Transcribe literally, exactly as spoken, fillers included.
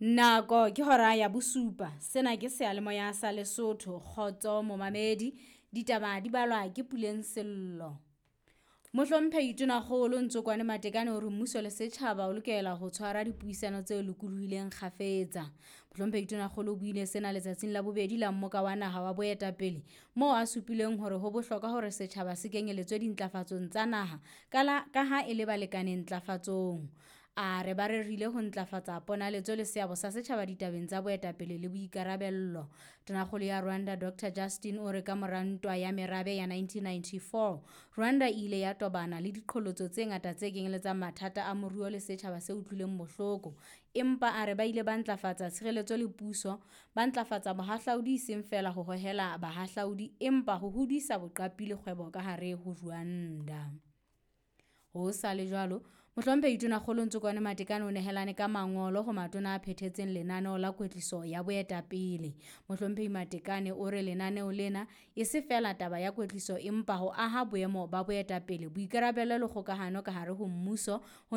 Nako ke hora ya bosupa. Sena ke seyalemoya sa Lesotho. Kgotso momamedi. Ditaba di balwa ke Puleng Sello. Mohlomphehi Tonakgolo Ntsokwane Matekane o re mmuso le setjhaba o lokela ho tshwara dipuisano tse lokolohileng kgafetsa. Mohlomphehi Tonakgolo o buile sena letsatsing la bobedi la mmoka wa naha wa boetapele moo a supileng hore ho bohlokwa hore setjhaba se kenyeletswe dintlafatsong tsa naha ka la ka ha e le balekane ntlafatsong. A re ba rerile ho ntlafatsa ponaletso le seabo sa setjhaba ditabeng tsa boetapele le boikarabello. Tonakgolo ya Rwanda Doctor Justin o re ka mora ntwa ya merabe ya nineteen ninety-four, Rwanda e ile ya tobana le diqholotso tse ngata tse kenyeletsang mathata a moruo le setjhaba se utlwileng bohloko. Empa a re ba ile ba ntlafatsa tshireletso le puso, ba ntlafatsa bohahlaudi e seng feela ho hohela bahahlaudi empa ho hodisa boqapi le kgwebo ka hare ho Rwanda. Ho sa le jwalo, Mohlomphehi Tonakgolo Ntsokwane Matekane o nehelane ka mangolo ho matona a phethetseng lenaneo la kwetliso ya boetapele. Mohlomphehi Matekane o re lenaneo lena e se feela taba ya kwetliso empa ho aha boemo ba boetapele, boikarabelo le kgokahano ka hare ho mmuso ho